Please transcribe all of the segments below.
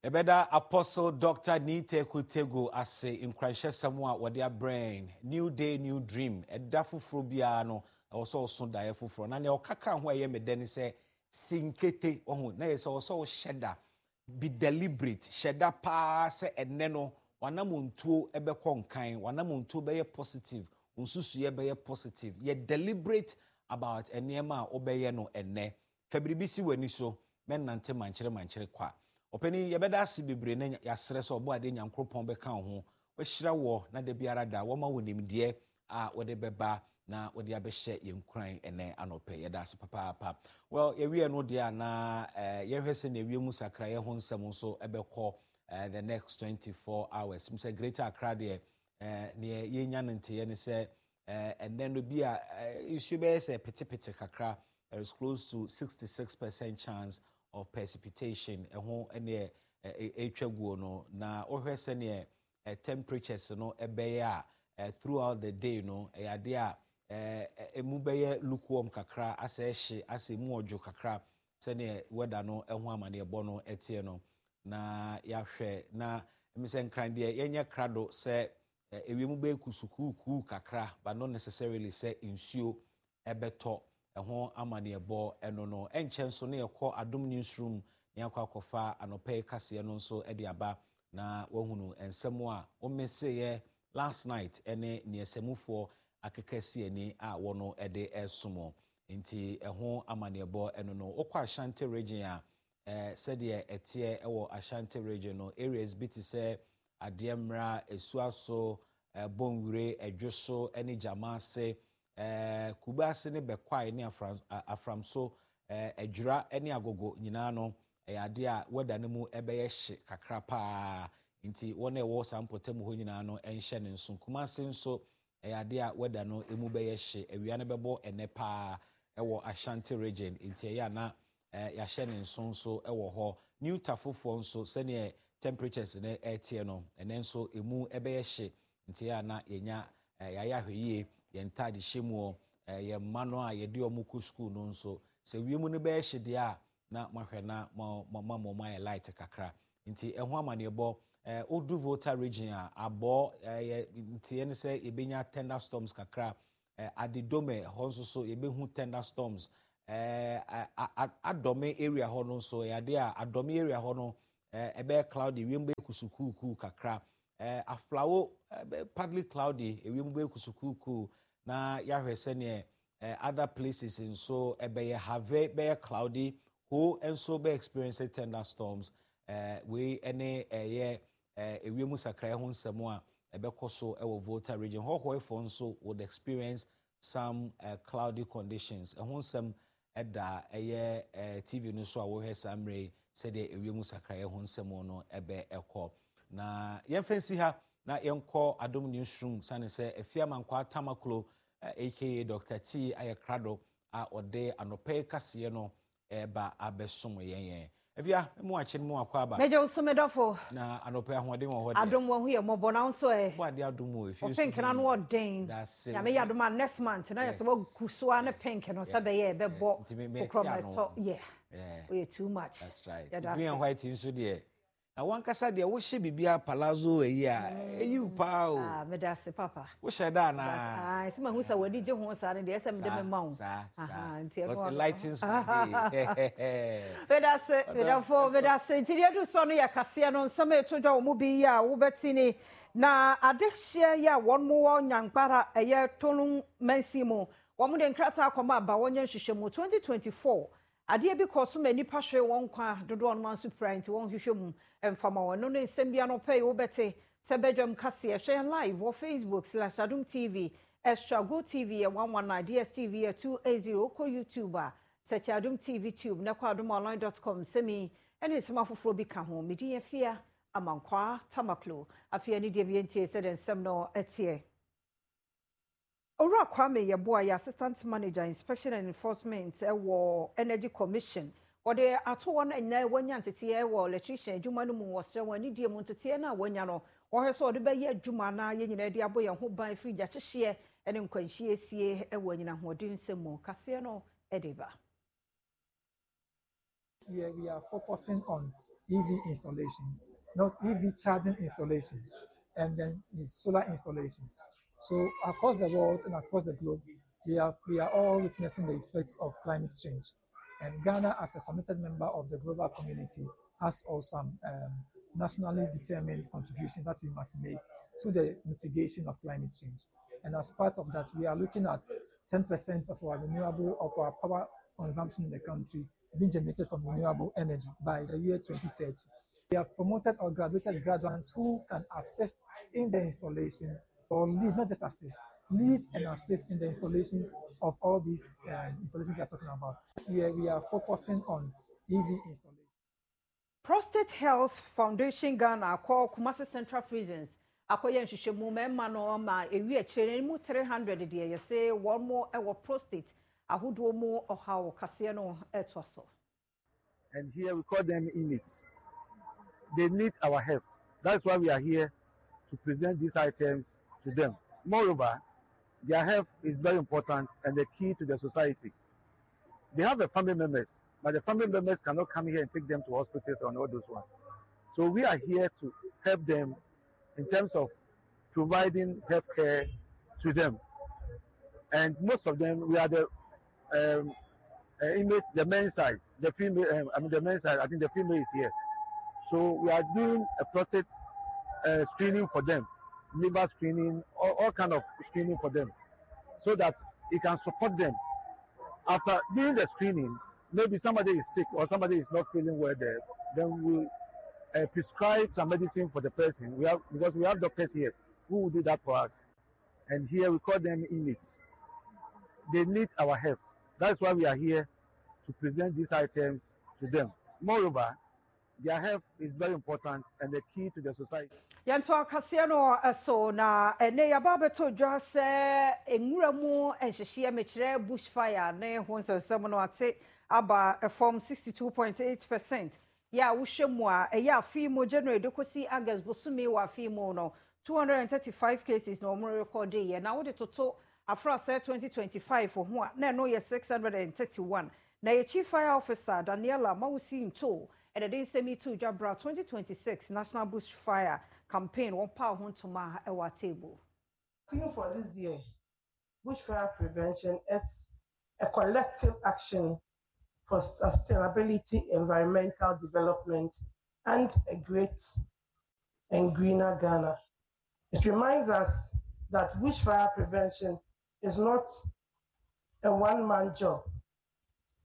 Yɛbɛda Apostle Doctor Nii Teku Tegu ase nkuranhyɛsɛm a wɔde abrɛ yɛn. New day, new dream. Ɛda foforɔ biara no, ɛwɔ sɛ ɔso daeɛ foforɔ. Na nea ɔka kaa ho a ɛyɛ me dɛ ne sɛ, si nkete, wahu, na ɛyɛ sɛ ɔwɔ sɛ wohyɛ da, be deliberate, hyɛ da paa sɛ ɛnnɛ no, w'anamontuo bɛkɔ nkan, w'anamontuo bɛyɛ positive, wo nsusuiɛ bɛyɛ positive. Yɛ deliberate about nneɛma a wobɛyɛ no ɛnnɛ. Fa biribi si w'ani so, mɛnnante mankyere mankyere kwa. Ɔpanin, yɛbɛda ase bebree na yɛasrɛ sɛ Ɔbɔadeɛ Nyankoropɔn bɛka wo ho, wahyira woɔ na da biara da wama wo nimdeɛ a wode bɛba na wode abɛhyɛ yɛn nkuran ɛnɛ anɔpɛ. Yɛda ase papaapa. Well, yɛwie no deɛ a na eh, yɛhwɛ sɛnea wiem nsakraeɛ ho nsɛm nso ɛbɛkɔ eh, the next 24 hours. M sɛ Greater Accra deɛ eh, neɛ yɛnya no nteɛ ne sɛ eh, ɛnɛ no bi a eh, nsuo bɛyɛ sɛ petepete kakra. There is close to 66% chance of precipitation. Ɛho ɛneɛ ɛtwa guo no na wohwɛ sɛneɛ eh, temperatures no ɛbɛyɛ a throughout the day no ɛyɛ adeɛ a ɛmu bɛyɛ lukewarm kakra asɛ ɛhye asɛ ɛmu ɔdwo kakra sɛneɛ weather no ɛho amaneɛbɔ no ɛteɛ no na yɛahwɛ na ɛmi sɛ nkran deɛ yɛnyɛ krado sɛ ewiem bɛyɛ kusukuukuu kakra but not necessarily sɛ nsuo ɛbɛtɔ. Ɛho amaneɛbɔ ɛno no. Ɛnkyɛ nso na yɛkɔ Adom Newsroom na yɛakɔ akɔfa anɔpa yi kaseɛ no nso de aba na wahunu nsɛm a womeseeɛ last night ɛne neɛ sɛmufoɔ akeka si ani a wɔno de ɛresom. Nti ɛho amaneɛbɔ ɛno no. Wokɔ Ashanti region a, sɛdeɛ ɛteɛ wɔ Ashanti region no, areas bi te sɛ Adeɛmmra, Asuaso, Bonwire, Ɛdwoso ne Gyamaase, Kubase ne Bɛkwae ne Aframso, Adwira ne Agogo nyinaa no, ɛyɛ adeɛ a weather no mu bɛyɛ hye kakra paa. Nti wɔn a ɛwɔ saa mpɔtam hɔ nyinaa no nhyɛ no nso. Kumase nso, ɛyɛ adeɛ a weather no mu bɛyɛ hye. Awia no bɛbɔ ɛnnɛ paa wɔ Ashanti region, nti ɛyɛ a na yɛahyɛ ne nso nso wɔ hɔ. New Tafofoɔ nso, sɛdeɛ temperatures no ɛreteɛ no, ɛnnɛ nso ɛmu bɛyɛ hye, nti ɛyɛ a na yɛnya yɛayɛ ahwɛyie, yɛn ntaade hyɛ muɔ, yɛn mma no a yɛde wɔn kɔ sukuu no nso, sɛ wiem no bɛyɛ hye deɛ a, na moahwɛ na moama wɔn ayɛ light kakra. Nti ɛho amaneɛbɔ, wodu Volta region a, abɔ yɛ nteɛ ne sɛ yɛbɛnya thunderstorms kakra. Adidome hɔ nso so yɛbɛhu thunderstorms. Adɔme area hɔ no nso ɛyɛ adeɛ a Adɔme area hɔ no ɛbɛyɛ cloudy, wiem bɛyɛ kusukuukuu kakra. Aflawo partly cloudy, ewiem bɛyɛ kusukuukuu na yɛahwɛ sɛneɛ other places nso ɛbɛyɛ Have bɛyɛ cloudy, Ho nso bɛ experience thunderstorms. Wei ɛne ɛyɛ ewiem sakraeɛ ho nsɛm a ɛbɛkɔ so ɛwɔ Volta region. Hɔhɔefoɔ nso would experience some cloudy conditions. Ɛho nsɛm ɛda ɛyɛ TV no so a wɔhwɛ saa mmerɛ yi sɛdeɛ ewiem sakraeɛ ho nsɛm no ɛbɛ ɛkɔ. Na yɛmfa nsi ha na yɛnkɔ Adom Newsroom sane sɛ Afia Mankwaa Tamaklo aka Doctor T ayɛ krado a ɔde anɔpa yi kaseɛ no ɛreba abɛsom yɛn yɛn. Afia, mu akye no mu akɔ aba. Mɛgye wo so me dɔfo. Na anɔpa yi ahoɔden wɔ hɔ deɛ. Adom wahu yɛ mmɔbɔ na wo nso ɛ. Bɔ adeɛ adom o, efie so pink na no ɔden. Dase. Nyame yɛ adom a next month na yɛ sɛ wagu so a ne pink no sɛ bɛyɛ ɛbɛbɔ kokorɔ ma ɛtɔ yeah. Oyɛ too much. That's right. Green and white nso deɛ. Na wankasa deɛ wohyɛ biribiara palazzo ayi a ɛyi wo paa o. Ah, meda ase papa. Wohyɛ da anaa? Ah, sɛ mahu sɛ w'ani gye ho saa no deɛ ɛsɛ mede me ma wo. Saa, saa. Nti ɛno ano. Lightens my day. Meda ase, medafo, meda ase. Nti deɛ edu soɔ no yɛ kaseɛ no nsɛm a ɛto dwa wɔ mu bi yi a wobɛte ni. Na adehyeɛ yi a wɔn wɔ Nyangbara ɛyɛ Tolung mansin mu, wɔn de nkrataa akɔma aba wɔnyɛ nhwehwɛmu 2024 Adeɛ bi kɔɔ so ma nnipa hweree wɔn nkwa, dodoɔ no ara nso pirae nti wɔnhwehwɛ mu mfa ma wɔn. Ɛno ne nsɛm bi anɔpa yi wobɛte sɛ badwam kaseɛ. Hwɛ yɛn live wɔ Facebook slash Adom TV, Extra, Go TV yɛ 119, DSTV yɛ 280. Wokɔ YouTube a, search Adom TV Tube na kɔ adomonline dot com. Nsɛm yi ne nsɛm afoforɔ bi ka ho. Me din Afia Amankwaa Tamaklo. Afei anidie bi yɛntie sɛdeɛ nsɛm no teɛ. Owura Kwame Yeboah yɛ Assistant Manager, Inspection and Enforcement wɔ Energy Commission. Wɔde ato hɔ na nnɛ wanya nteteɛ wɔ electrician adwuma no mu. Wɔsrɛ wɔn anidie mu nteteɛ no a wɔanya no, wɔhwɛ sɛ wɔde bɛyɛ adwuma na yɛn nyinaa de abɔ yɛn ho ban firi gyahyehyeɛ ne nkwanhyeɛsie wɔ anyinam ahoɔden nsɛm mu. Kaseɛ no de ba. This year we are focusing on EV installations, not EV charging installations, and then solar installations. So across the world and across the globe, we are, we are all witnessing the effects of climate change. And Ghana, as a committed member of the global community, has also some um, nationally determined contributions that we must make to the mitigation of climate change. And as part of that, we are looking at 10% of our renewable, of our power consumption in the country being generated from renewable energy by the year 2030. We have promoted or graduated graduates who can assist in the installation or lead, not just assist, lead and assist in the installations of all these uh, installations we are talking about. This year, we are focusing on EV installation. Prostate Health Foundation Ghana akɔ Kumasi Central Prisons akɔyɛ nhwehwɛmu mmarima no ma ewi akyire no mu 300 deɛ yɛse wɔn wɔ prostate ahodoɔ mu ɔhaw kaseɛ no ɛtoa so. And here we call them inmates. They need our help. That's why we are here to present these items to them. Moreover, their health is very important and the key to the society. They have the family members, but the family members cannot come here and take them to hospitals and all those ones. So we are here to help them in terms of providing health care to them. And most of them, we are the um, inmates, the men's side, the female, um, I mean the men's side, I think the female is here. So we are doing a prostate screening for them, liver screening, all, all kind of screening for them, so that it can support them. After doing the screening, maybe somebody is sick or somebody is not feeling well there, then we uh, prescribe some medicine for the person. We have because we have doctors here who will do that for us. And here we call them inmates. They need our help. That's why we are here to present these items to them. Moreover, their health is very important and the key to the society. Yɛntoa kaseɛ no so na ɛnɛ yɛaba abɛtɔ dwa sɛ nwura mu nhyehyeɛ mekyerɛ bush fire ne ho nsɛnsɛm no ate aba fam 62.8 percent yɛ a wohwɛ mu a ɛyɛ afe mu January de kɔsi August bosome wɔ afe mu no 235 cases na wɔn rekɔde yɛ na wode toto afrasɛ 2025 ho a na ɛno yɛ 631 na yɛ chief fire officer Daniela Mawusi Nto ɛna de nsɛm yi to dwa bra 2026 national bush fire campaign wɔn pa ho ntoma ɛwɔ atable. Theme for this year, bushfire prevention is a collective action for sustainability, environmental development, and a great and greener Ghana. It reminds us that bushfire prevention is not a one-man job.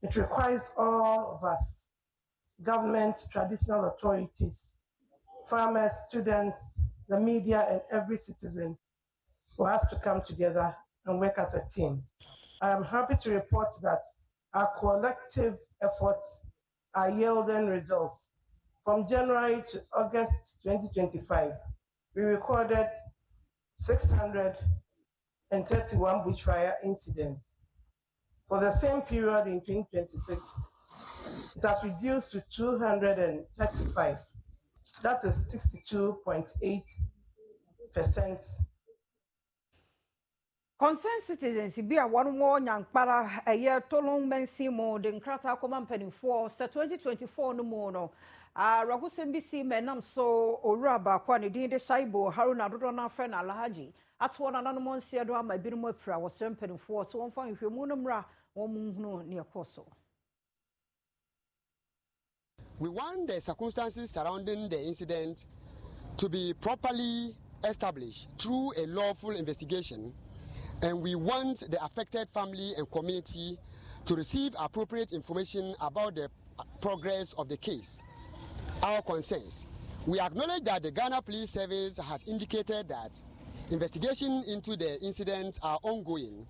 It requires all of us, government, traditional authorities, farmers, students, the media, and every citizen for us to come together and work as a team. I am happy to report that our collective efforts are yielding results. From January to August 2025, we recorded 631 bushfire incidents. For the same period in 2026, it has reduced to 235. That is 62.8 percent. Concerned citizens bi a wɔn wɔ Nyankpara ɛyɛ Tolon mansin mu de nkrataa kɔma mpanimfoɔ sɛ 2024 no mu no awerɛhosɛm bi si ma ɛnam so owura baako a ne din de Shaibu Haruna dodoɔ no afrɛ no Alhaji atoɔ nananom nseɛ do ama ebinom apira wɔsrɛ mpanimfoɔ sɛ wɔmfa nhwehwɛmu no mmra wɔn mu nhunu nea ɛkɔɔ so. We want the circumstances surrounding the incident to be properly established through a lawful investigation, and we want the affected family and community to receive appropriate information about the progress of the case. Our concerns. We acknowledge that the Ghana Police Service has indicated that investigation into the incidents are ongoing.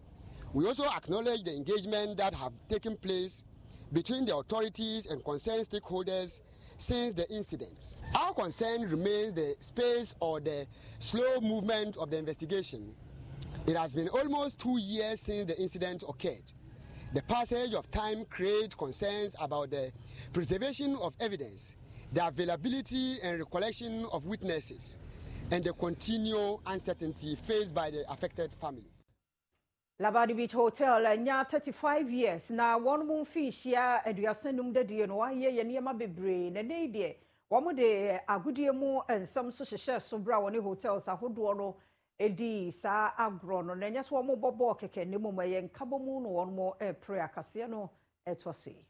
We also acknowledge the engagement that have taken place between the authorities and concerned stakeholders since the incident. Our concern remains the space or the slow movement of the investigation. It has been almost two years since the incident occurred. The passage of time creates concerns about the preservation of evidence, the availability and recollection of witnesses, and the continual uncertainty faced by the affected families. Labadi Beach Hotel anya 35 years na wɔn mu mfinhyia 35 dadie no wayɛ yɛ nneɛma bebree na ne deɛ Wɔde agodie mu nsɛm nso hyehyɛɛ so berɛ a wɔne hotels ahodoɔ no dii saa agorɔ no. Na ɛnyɛ sɛ wɔrebɔ bɔɔl kɛkɛ na mmom ɛyɛ nkabɔmu na wɔrepere akaseɛ no ɛtoa so yi.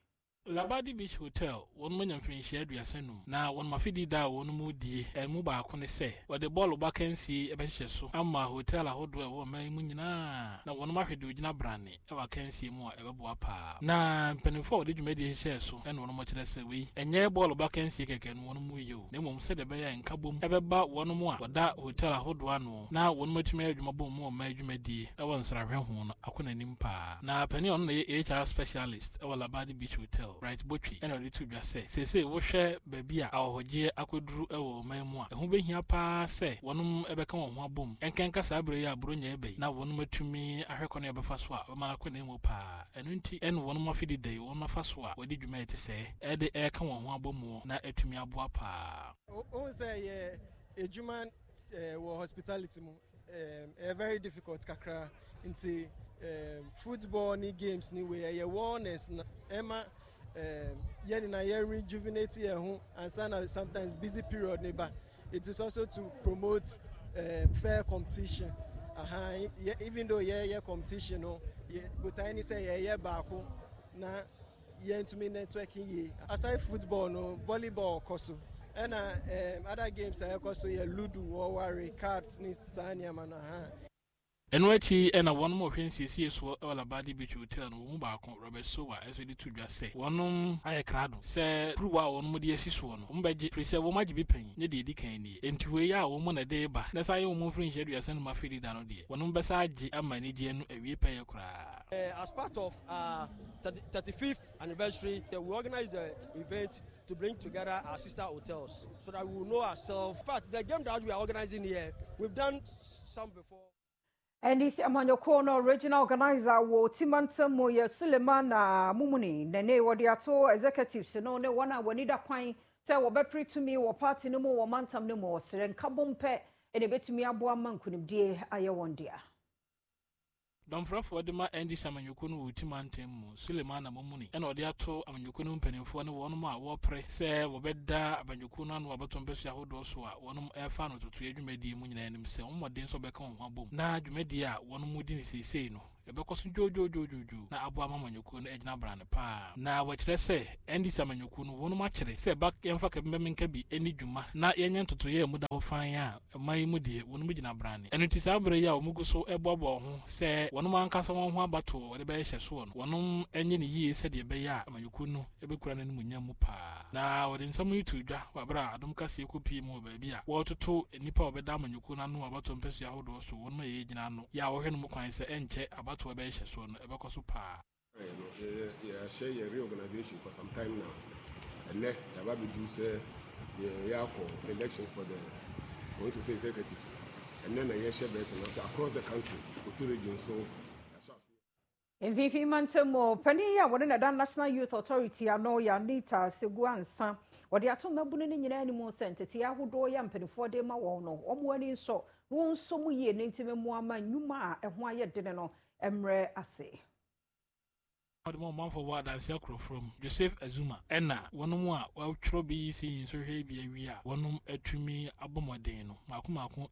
Labadi Beach Hotel, wɔnom anya mfirinhyia 35, na wɔnom afedi da a wɔnom redie mu baako ne sɛ wɔde bɔɔlobɔ akansie bɛhyehyɛ so ama hotel ahodoɔ a ɛwɔ ɔman yi mu nyinaa na wɔnom ahwɛ deɛ ɔgyina brane wɔ akansie mu a ɛbɛboa paa. Na mpanimfoɔ a wɔde dwumadie hyehyɛɛ so na wɔnom kyerɛ sɛ wei ɛnyɛ bɔɔlobɔ akansie kɛkɛ no wɔnom reyɛ o, na mmom sɛdeɛ ɛbɛyɛ a nkabom bɛba wɔnom a wɔda hotel ahodoɔ ano na wɔnom atumi ayɛ adwuma bom mu ɔman dwumadie wɔ nsrahwɛ ho no akɔ n'anim paa. Na panin a ɔno na ɛyɛ HR specialist wɔ Labadi Beach Hotel, Bright Botwe na ɔde too dwa sɛ, seesei wohwɛ baabi a ahɔhogyeɛ akɔduru wɔ ɔman mu a, ɛho bɛhia pa ara sɛ wɔnom bɛka wɔn ho abom ɛnkanka saa berɛ yi a Buronya reba yi na wɔnom atumi ahwɛ kwan a wɔbɛfa so a wɔbɛma no akɔ n'anim pa ara. Ɛno nti na wɔnom afe deda yi wɔnom afa so a wɔde dwuma a ɛte sɛɛ de reka wɔn ho abɔ na atumi aboa pa ara. Wohu sɛ yɛ adwuma wɔ hospitality mu ɛyɛ very difficult kakra nti football ne games ne wei ɛyɛ wellness na ɛma yɛn nyinaa yɛ rejuvenate yɛn ho ansa na sometimes busy period ne ba. It is also to promote fair competition. Uh-huh. Even though yɛyɛ competition no, botae ne sɛ yɛyɛ baako na yɛntumi networking yie. Aside football no, volleyball kɔ so. Ɛna other games a ɛkɔ so yɛ ludo, wɔware, cards ne saa nneɛma no. Aha. Ɛno akyi na wɔnom a wɔhwɛ nsiesie soɔ wɔ Labadi Beach Hotel no wɔn mu baako, Robert Sowa nso de to dwa sɛ wɔnom ayɛ krado sɛ kuruwa a wɔnom de asi soɔ no wɔn bɛgye firi sɛ wɔn agye bi pɛn nyɛ deɛ ɛdi kan nie. Enti wei a wɔn na ɛde reba na ɛsan yɛ wɔn mfirinhyia 35 afedi da no deɛ wɔnom bɛsan agye ama anigyeɛ no awie pɛyɛ koraa. As part of our 35th anniversary, we organize the event to bring together our sister hotels so that we will know ourselves. In fact, the game that we are organizing here, we've done some before. NDC amanyɔkuo no regional organizer wɔ Oti mantam mu yɛ Suleiman Mumuni na ne wɔde ato executives no ne wɔn a wɔn ani da kwan sɛ wɔbɛpere tumi wɔ party no mu wɔ mantam no mu. Ɔsrɛ nkabom pɛ na ebetumi aboa ma nkunimdie ayɛ wɔn dea. Dɔmfrɛfoɔ de ma NDC amanyɔkuo no wɔ Oti mantam mu, Sulemana Mumuni na ɔde ato amanyɔkuo no mu mpanimfoɔ ne wɔnom a wɔrepere sɛ wɔbɛda amanyɔkuo no ano abatoɔ mpasua ahodoɔ so a wɔnom refa ano totoeɛ dwumadie mu nyinaa anim sɛ wɔn mmɔden sɛ wɔbɛka wɔn ho abom na dwumadie a wɔnom redi no seesei no ɛbɛkɔ so dwoodwoodwoodwoo na aboa ama amanyɔkuo no agyina brane paa. Na wɔkyerɛ sɛ NDC amanyɔkuo no wɔnom akyere sɛ ɛba yɛmfa kabimɛmenka bi nni dwuma na yɛnyɛ ntotoeɛ a ɛmu da hɔ fann a ɔman yi mu deɛ, wɔnom gyina brane. Ɛno nti saa berɛ yi a wɔn gu so reboaboa wɔn ho sɛ wɔnom ankasa wɔn ho abatoɔ wɔde bɛyɛ hyɛsoɔ no, wɔnom nyɛ no yie sɛdeɛ ɛbɛyɛ a amanyɔkuo no bɛkura n'animuonyam mu paa. Na wɔde nsɛm yi too dwa wɔ berɛ a Adom Kaseɛ kɔpuee mu wɔ baabi a wɔretoto nnipa a wɔbɛda amanyɔkuo no ano wɔ abatoɔ mpasua ahodoɔ so wɔnom a yɛgyina ano yɛ a wɔhwɛ no mu kwan sɛ ɛnkyɛ abatoɔ bɛyɛ hyɛsoɔ no ɛbɛkɔ so paa. No, yɛahyɛ yɛ reorganization for some time now. Ɛnɛ yɛaba abɛdu sɛ yɛyɛ akɔ elections for the constituency executives. Ɛnɛ na yɛhyɛ bɛɛte no ase across the country, Oti region so yɛahyɛ ase. Mfimfini mantam mu panin yi a wɔne na ɛda National Youth Authority ano yɛ Anita Segu Ansa. Wɔde ato mmabunu no nyinaa anim sɛ nteteeɛ ahodoɔ yɛ mpanimfoɔ de ma wɔn no, wɔn ani nsɔ na wɔn nso mu yie ne ntumi mmoa ma nnwuma a ɛho ayɛ dene no mmerɛ ase. Wɔde ma ɔmanfoɔ wɔ adanse akorɔforɔ mu, Joseph Azuma, ɛna wɔnom a wɔatwerɛ BEC nsɔhwɛ yi bi awie a wɔnom atumi abɔ mmɔden no mmaako mmaako.